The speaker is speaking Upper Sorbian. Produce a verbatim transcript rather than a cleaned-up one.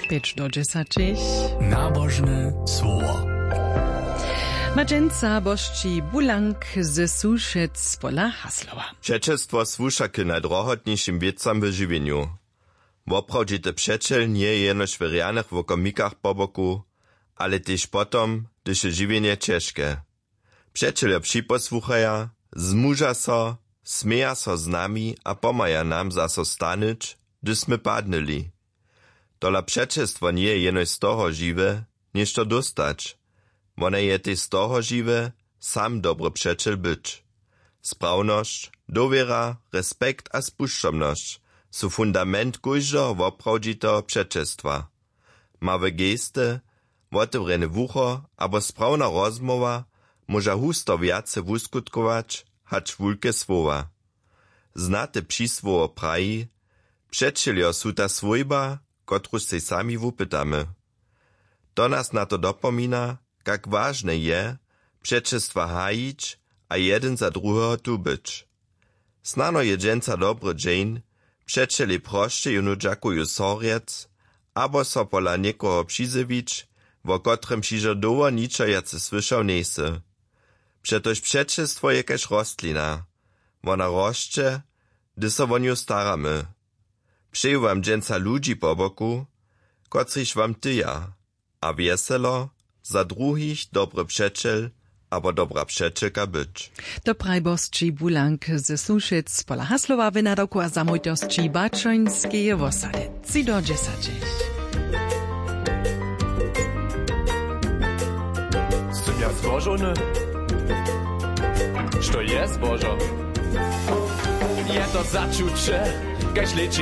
Pěć do dźesaćich. Nabožne słowo. Ma dźensa bosći Bulank ze Sušec pola Haslowa. Přećelstwo słuša k najdrohotnišim wěcam w žiwjenju. Woprawdźity přećel njeje jenož w rjanych wokomikach poboku, ale tež potom, hdyž je žiwjenje ćežke. Přećeljo připosłuchaja, zmuža so, směja so z nami a pomhaja nam zaso stanyć, hdyž smy padnyli. Tola přećelstwo njeje jenož z toho žiwe, něšto dóstać. Wone je tež z toho žiwe, sam dobry přećel być. Sprawnosć, dowěra, respekt a spušćomnosć su fundament kóždeho woprawdźiteho přećelstwa. Małe gesty, wotewrjene wucho abo sprawna rozmołwa móža husto wjace wuskutkować hač wulke słowa. Znate přisłowo praji: přećeljo su ta swójba, kotruž sej sami wupytamy. To nas na to dopomina, kak wažne je přećelstwa hajić a jedyn za druheho tu być. Snano je dźensa dobry dźeń, přećelej prosće jónu dźakuju zhorjec abo so pola někoho přizjewić, wo kotrymž hižo dołho ničo wjace słyšał njejsy. Přetož přećelstwo je kaž rostlina. Wona rosće, hdy so wo nju staramy. Přeju wam dźensa ludźi poboku, kotřiž wam tyja, a wjeselo, za druhich dobry přećel abo dobra přećelka być. To praji bosći Bulank ze Sušec pola Haslowa w nadawku a zamójtosći Bačońskeje wosady. Tři do dźesaćich. Sym ja zbožowny? Što je zbožo? Je to začuće, kaž leći.